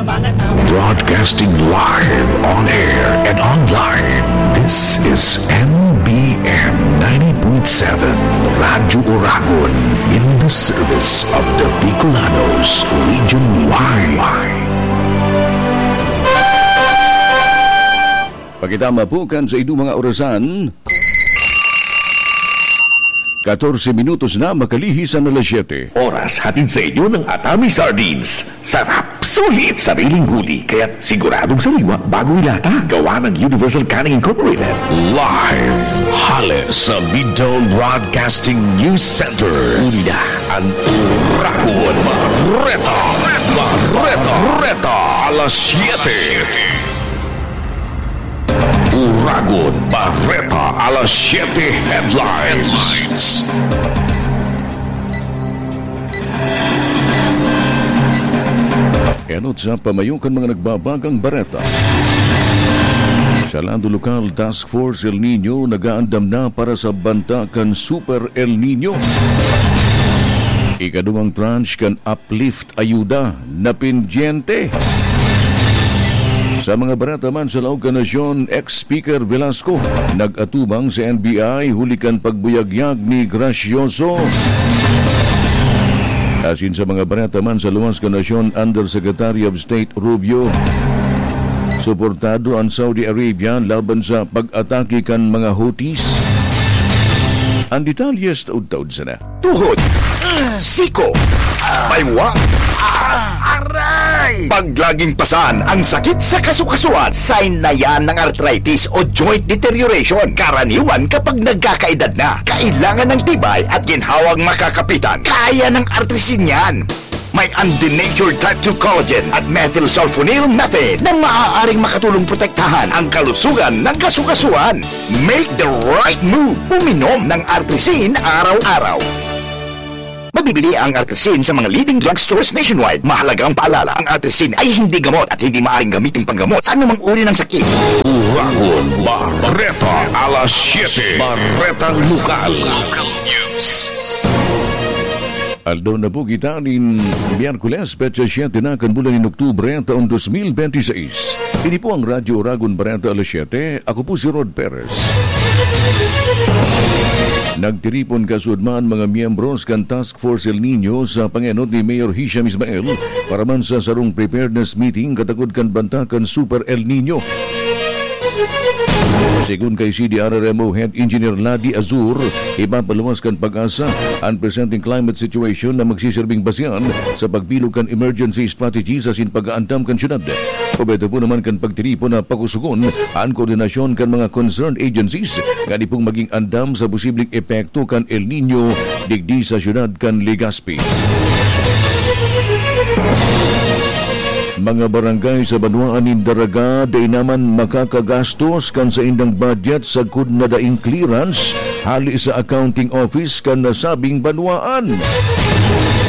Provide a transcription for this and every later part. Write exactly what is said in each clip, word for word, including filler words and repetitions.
Broadcasting live on air and online. This is M B M ninety point seven Radyo Oragon, in the service of the Bicolanos, Region Y. Pakitama po kan sa inyong mga orasan. Katorse minutos na makalihis an alas siyete. Oras hatid sa inyo ng Atami Sardines. Sarap, sulit, sariling huli, kaya siguradong sariwa bago ilata. Gawa ng Universal Canning Incorporated. Live, hale sa Midtown Broadcasting News Center. Uli na ang Uragon Bareta. Bareta. Bareta. Alas siyete. Uragon Bareta, alas siyete headlines. Enot sa pamayo kan mga nagbabagang bareta. Sa lado lokal, Task Force El Niño nag-aandam na para sa banta kan Super El Niño. Ikaduwang tranche kan Uplift Ayuda na pendyente. Sa mga bareta man sa laog kan nasyon, ex-Speaker Velasco nag-atubang sa N B I huli kan pagbuyagyag ni Gracioso. Asin sa mga bareta man sa luwas kan nasyon, Undersecretary of State Rubio, suportado an Saudi Arabia laban sa pag-atake kan mga Houthis. An detalye sa taod-taod sana. Tuhod, siko, baywa, aray! Pag laging pasan ang sakit sa kasukasuan, sign na yan ng arthritis o joint deterioration. Karaniwan kapag nagkakaedad na, kailangan ng tibay at ginhawang makakapitan. Kaya ng Artrisin yan. May undenatured type two collagen at methylsulfonyl methane na maaaring makatulong protektahan ang kalusugan ng kasukasuan. Make the right move. Uminom ng Artrisin araw-araw. Mabibili ang Artrisin sa mga leading drugstores nationwide. Mahalagang paalala, ang Artrisin ay hindi gamot at hindi maaaring gamitin panggamot sa anumang uri ng sakit. Uragon Bareta, alas siyete. Baretang Lokal. Local News. Aldaw na po kita nin Miyerkules, petsa siyete na kan bulan nin Oktubre, taon dos mil benti seis. Ini po ang Radyo Uragon Bareta, alas siyete. Ako po si Rod Perez. Nagtiripon kasuodma an mga miyembros kan Task Force El Niño sa pangenot ni Mayor Hisham Ismael para man sa sarong preparedness meeting katakod kan banta kan Super El Niño. Segun kay C D R R M O Head Engineer Ladi Azur, ipapaluwas kan PAGASA an presenteng climate situation na magsiserbing basehan sa pagbilog kan emergency strategies asin pag-aandam kan syudad. Objeto po naman kan pagtiripon na pakusugon an koordinasyon kan mga concerned agencies ngani pong maging andam sa posibleng epekto kan El Niño digdi sa syudad kan Legazpi. Mga barangay sa banwaan nin Daraga dai naman makakagastos kan saindang budget sagkod na daing clearance hali sa accounting office kan nasabing banwaan.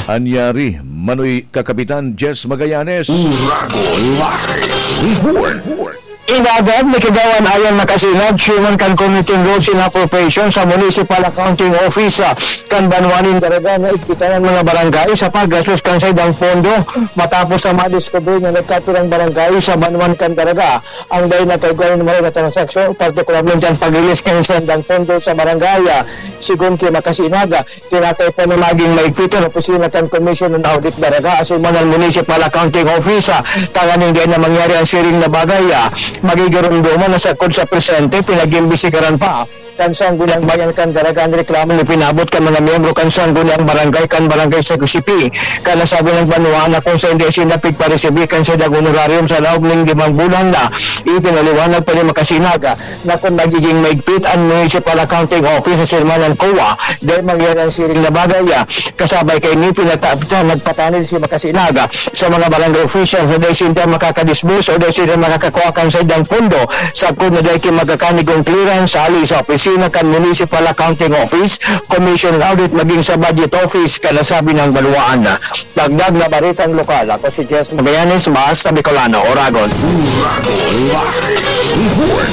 Anyari, Manoy Kakapitan Jess Magallanes. Uragon Live Report. Inagad ni Kagawad Ayan Makasinag, chairman kan Committee on Rules and Appropriation sa Municipal Accounting Office, ah, kan banwaan nin Daraga na igpitan an mga barangay sa paggastos kan saindang pondo matapos sa madiskubre na nagkapirang barangay sa banwaan kan Daraga ang dai nagkaigwa nin maray na transaksyon, partikularmente an pag-release kan saindang pondo sa barangay. Ah, sigon ki Makasinag, ah, tinatay pa na maging maigpit an opisina kan Commission on Audit Daraga asin man an Municipal Accounting Office, ah, tanganing dai na mangyari an siring na bagay. Ah, magigiromdoman na sagkod sa presente, pinag-imbestigaran pa kan Sangguniang Bayan kan Daraga an reklamong ipinabot kan mga miyembro kan Sangguniang Barangay kan Barangay Sagusipi kan nasabing banwaan na kung saen dai sinda pigparesibi kan saindang honorarium sa laog nin limang bulan na. Ipinaliwanag pa ni Makasinag na kung magiging maigpit an Municipal Accounting Office sa sirmanan COA, dai mangyari an siring na bagay. Kasabay kaini, pinata-, nagpatanid si Makasinag sa mga barangay officials na dai sinda makakadisburse o dai sinda makakakua kan saindang pondo sagkod na dai ki magkakanigong clearance hali sa opisina kan Municipal Accounting Office, Commission on Audit maging sa Budget Office kan nasabing banwaan. Dagdag na baretang lokal, ako si Jess Magallanes, Basta Bicolano, Oragon. Uragon Live Report.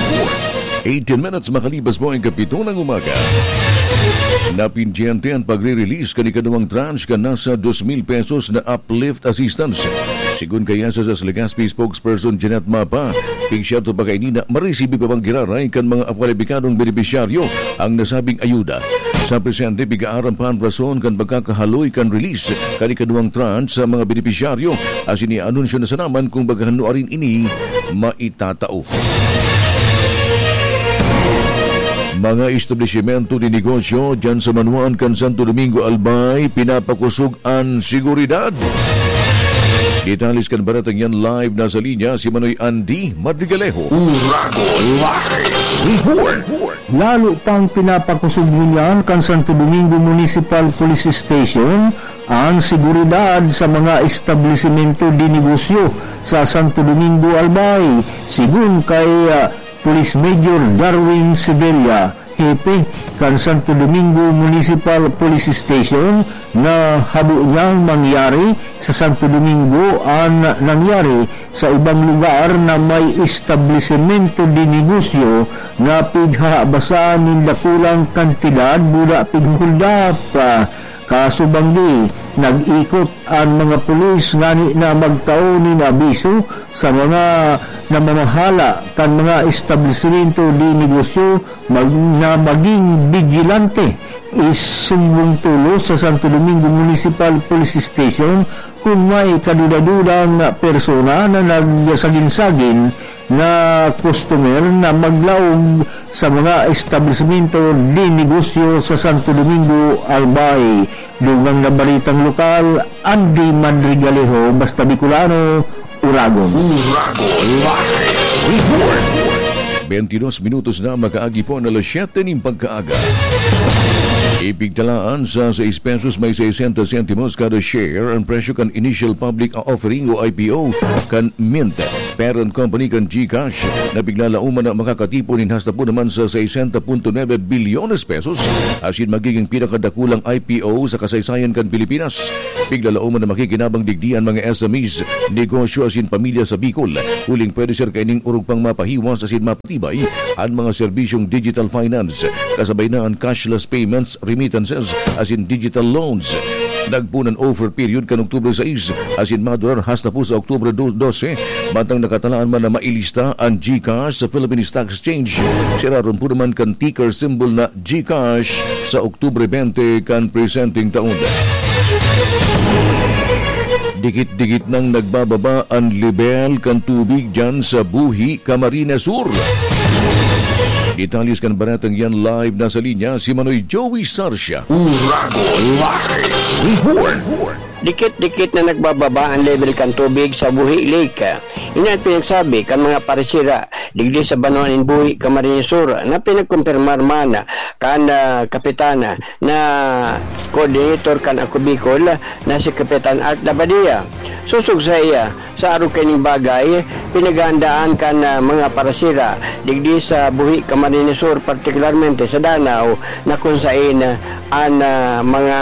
Eighteen minutes makalipas po ang kapito ng umaga. Napindyente ang pagre-release kan ikaduwang tranche kan nasa dos mil pesos na uplift assistance Sigon kaya sa S A S Legazpi spokesperson Jeanette Mapa, pigsyerto pa kaini na maresibi pa man giraray kan mga kwalipikadong benepisyaryo ang nasabing ayuda. Sa presente, pig-aaram pa an rason kan pagkakahaloy kan release kan ikaduwang tranche sa mga benepisyaryo, asin i-anunsyo na sana man kung baga nuarin ini maitatao. Mga establisimento de negosyo diyan sa Manuan kan Santo Domingo, Albay, pinapakosog an seguridad. Detalles kan baretang yan, live na sa linya si Manoy Andy Madrigalejo. Uragon Live Report. Lalo pang pinapakosog ngunyan kan Santo Domingo Municipal Police Station an seguridad sa mga establisimento de negosyo sa Santo Domingo, Albay. Sigon kay, ah, Police Major Darwin Sevilla, hepe kan Santo Domingo Municipal Police Station, na habo niyang mangyari sa Santo Domingo an nangyari sa ibang lugar na may establisimento de negosyo na pighahabasan nin dakulang kantidad buda pighuhuldap. Kaso banggi, nag-ikot an mga pulis ngani na magtao nin abiso sa mga namamahala kan mga establisimento de negosyo mag-, na maging bigilante. Isumbong tolos sa Santo Domingo Municipal Police Station kun may kaduda-dudang persona na nagsagin-sagin na customer na maglaog sa mga establisimento de negosyo sa Santo Domingo, Albay. Dugang na baretang lokal, Andy Madrigalejo, Basta Bicolano, Uragon. Uragon Live Report. Bentidos minutos na makaagi po na alas siyete nin pagkaaga. Ipigtalaan sa sais pesos may sesenta sentimos kada share ang presyo kan initial public offering o I P O kan Mint parent company kan GCash, na piglalauman na makakatipon nin hasta po naman sa sesenta punto nuebe bilyones pesos, asin magiging pinakadakulang I P O sa kasaysayan kan Pilipinas. Piglalauman na makikinabang digdi an mga S M Es, negosyo asin pamilya sa Bicol, huling pwede ser kaining orog pang mapahiwas asin mapatibay an mga serbisyong digital finance, kasabay na an cashless payments, remittances, asin digital loans. Nagpoon an offer period kan Oktubre sais asin madurar hasta po sa Oktubre do-, dose, mantang nakatalaan man na mailista an GCash sa Philippine Stock Exchange. Siraron po naman kan ticker symbol na GCash sa Oktubre bente kan presenteng taon. Dikit-dikit nang nagbababa an lebel kan tubig diyan sa Buhi, Camarines Sur. Detalles kan baretang yan, live na sa linya si Manoy Joey Sarsia. Uragon Live Report. Dikit-dikit na nagbababa ang level kan tubig sa Buhi Lake. Ini an pinagsabi kan mga parisira digdi sa banwa nin Buhi, Camarines Sur, na pinagkumpirmar man kan, ah, kapitan na coordinator kan Ako Bicol na si Kapitan Art Labadia. Sosog sa iya, sa arog kaining bagay, pinaghahandaan kan, ah, mga parisira digdi sa Buhi, Camarines Sur, partikularmente sa Danao, na kun saen, ah, an, ah, mga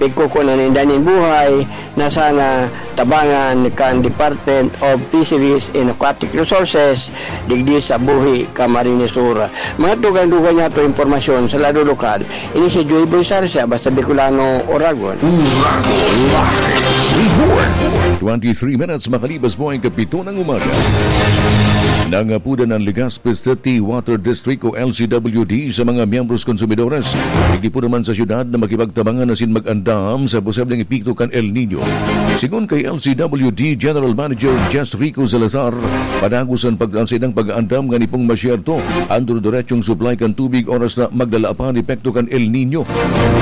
pigkukunan ninda nin buhay na sana tabangan kan Department of Fisheries and Aquatic Resources digdi sa Buhi, Camarines Sur. Mga dugang-dugang niya to impormasyon sa lado lokal, ini si Joy Boy Sarsia, Basta Bicolano, Oragon. Uragon Live Report. Twenty-three minutes makalipas po ang kapito ng umaga. Nangapudan ang Legazpi City Water District o L C W D sa mga miyembros konsumidores, digdi po naman sa syudad, na makipagtabangan asin mag-andam sa posibleng epekto kan El Niño. Sigon kay L C W D General Manager Jess Rico Salazar, padagos an pag-, an saindang pag-aandam ngani pong masyerto an durudiretsong supply kan tubig oras na magdala pa an epekto kan El Niño.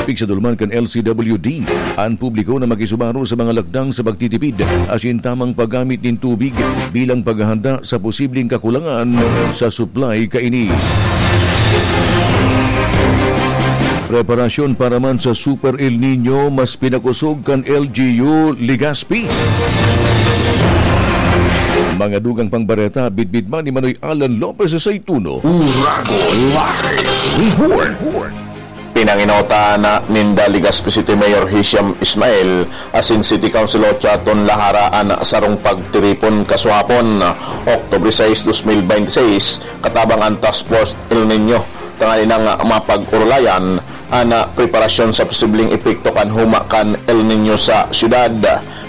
Pigsadul man kan L C W D an publiko na makisubaro sa mga lakdang sa pagtitipid asin tamang paggamit nin tubig bilang paghahanda sa posibleng kakulangan sa supply kaini. Preparasyon para man sa Super El Niño, mas pinakosog kan L G U Legazpi. Mga dugang pang bareta, bitbit man ni Manoy Alan Lopez sa Saituno. Uragon Live Report. Pinanginota na ninda Legazpi City Mayor Hisham Ismail asin City Councilor Chaton Lahara an sarong pagtiripon kasuhapon, Oktubre sais, dos mil bente seis, katabang an Task Force El Niño, tanganing mapag-orolayan an, ah, preparasyon sa posibleng epekto kan huma kan El Niño sa syudad.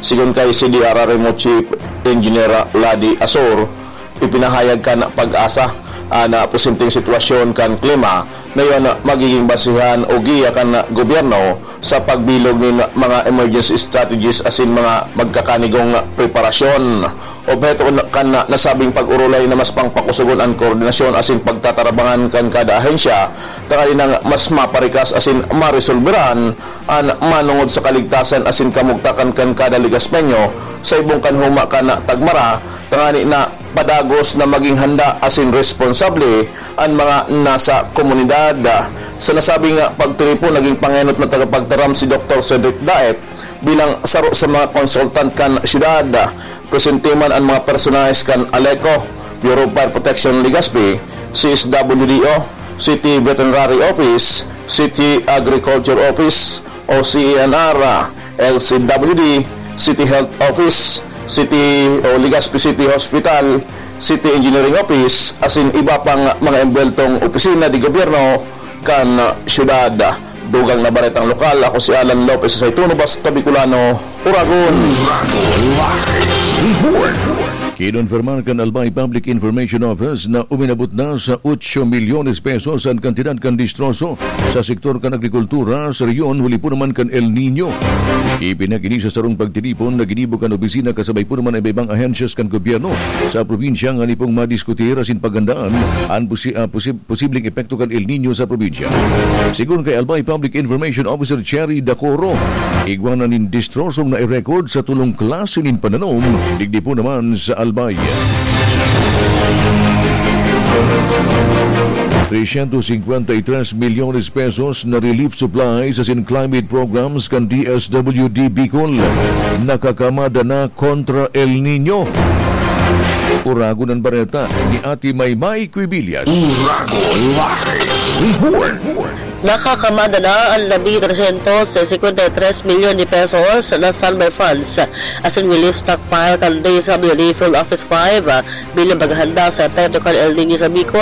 Sigon kay C D R R M O Chief Engineer Ladi Asor, ipinahayag kan PAGASA an, ah, posibleng sitwasyon kan klima na iyan magiging basihan o giya kan gobyerno sa pagbilog nin mga emergency strategies asin mga magkakanigong preparasyon. Obheto kan nasabing pag-orolay na mas pangpakusogon an koordinasyon asin pagtatarabangan kan kada ahensya, tanganing mas maparikas asin maresolberan an manongod sa kaligtasan asin kamugtakan kan kada Legaspeño sa ibong kan huma kan tagmara, tanganing padagos na magin handa asin responsable an mga nasa komunidad. Sa nasabing pagtiripon, naging pangenot na tagapagtaram si Doktor Cedric Daet bilang saro sa mga konsultan kan syudad. Presente man an mga personahe kan ALECO, Bureau of Fire Protection Legazpi, C S W D O, City Veterinary Office, City Agriculture Office o C A N R, L C W D, City Health Office, City o Legazpi City Hospital, City Engineering Office, asin iba pang mga embuweltong opisina de gobyerno kan syudad. Dugang na baretang lokal, ako si Alan Lopez sa Saituno, Basta Bicolano, Uragon. Uragon Live Report. Kinonfirmar kan Albay Public Information Office na uminabot na sa otso milyones pesos an kantidad kan distroso sa sektor kan agrikultura sa rehiyon huli po naman kan El Niño. Ipinag-ini sa sarong pagtiripon na ginibo kan opisina kasabay po naman ang iba-ibang ahensyas kan gobyerno sa probinsya ngani pong madiskutir asin paghandaan an posi-, ah, posi-, posibleng epekto kan El Niño sa probinsya. Sigon kay Albay Public Information Officer Cherry Dacoro, igwa na nin distrosong na i-record sa tolong klase nin pananom, digdi po naman sa Albay. Trescientos cincuenta y tres millones pesos na relief supplies asin climate programs kan D S W D Bicol nakakamada na kontra El Niño. Uragon an bareta ni Ate Maymay Quibillas. Uragon Live Report. Nakakamada na an labi trescientos cincuenta y tres milyon de pesos na standby funds asin relief stockpile kan D S W D Field Office five bilang paghahanda sa epekto kan El Niño sa Bicol.